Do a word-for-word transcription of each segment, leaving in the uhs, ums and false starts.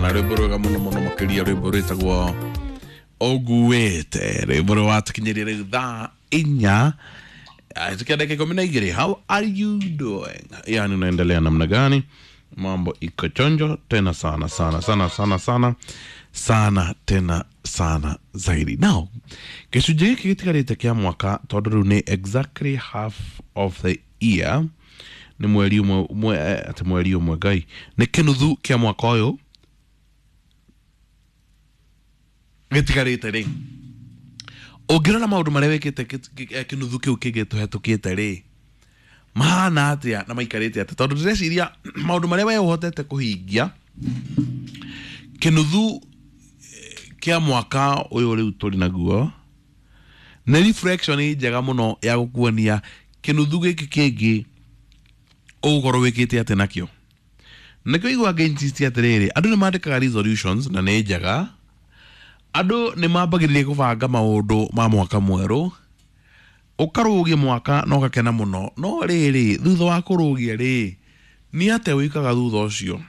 Sana rwimbo rwega muno muno makiria, rwimbo rwitagwo Oguete, rwimbo rwatukinyirie riu thaa inya tukia dakika ikumi na igiri. How are you doing? Yani unaendelea namna gani? Mambo iko chonjo tena sana sana sana sana sana sana tena sana zaidi. Now, gĩcunjĩ gĩkĩ gĩtigarĩte kĩa mwaka, tondũ rĩu nĩ exactly half of the year, nĩ mweri ũmwe mwe, atĩ mweri ũmwe ngai nĩ kĩnuthu kĩa mwaka ũyũ gĩtigarĩte rĩ, ũngĩrora maũndũ marĩa wĩkĩte kĩnuthu kĩu kĩngĩ tũhetũkĩte rĩ, mahana atĩa na maikarĩte atĩa? Tondũ ndĩreciria maũndũ marĩa we ũhotete kũhingia kĩnuthu kĩa mwaka ũyũ rĩu tũrĩ naguo nĩ reflection njega mũno ya gũkuonia kĩnuthu gĩkĩ kĩngĩ ũgũkorwo wĩkĩte atĩa nakĩo. Nĩkĩo igua ngĩ-insist atĩrĩrĩ, andũ nĩ mandĩkaga resolutions na nĩ njega, andũ nĩ mambagĩrĩria kũbanga maũndũ ma mwaka mwerũ, ũkarũgia mwaka na ũgakena mũno, no rĩrĩ thutha wa kũrũgia rĩ, nĩ atĩa wĩkaga thutha ũcio?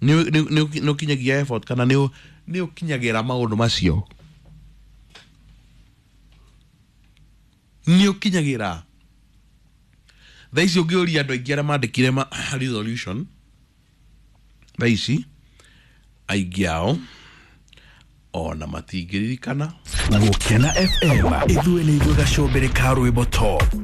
Nĩ ũkinyagia effort kana nĩ ũkinyagĩra maũndũ macio? Nĩ ũkinyagĩra? Thaa ici ũngĩũria andũ aingĩ arĩa mandĩkire ma resolution thaa ici, aingĩ ao ona matingĩririkana. Gũkena F M, ithuĩ nĩ ithuĩ gacũmbĩrĩ ka rwĩmbo top.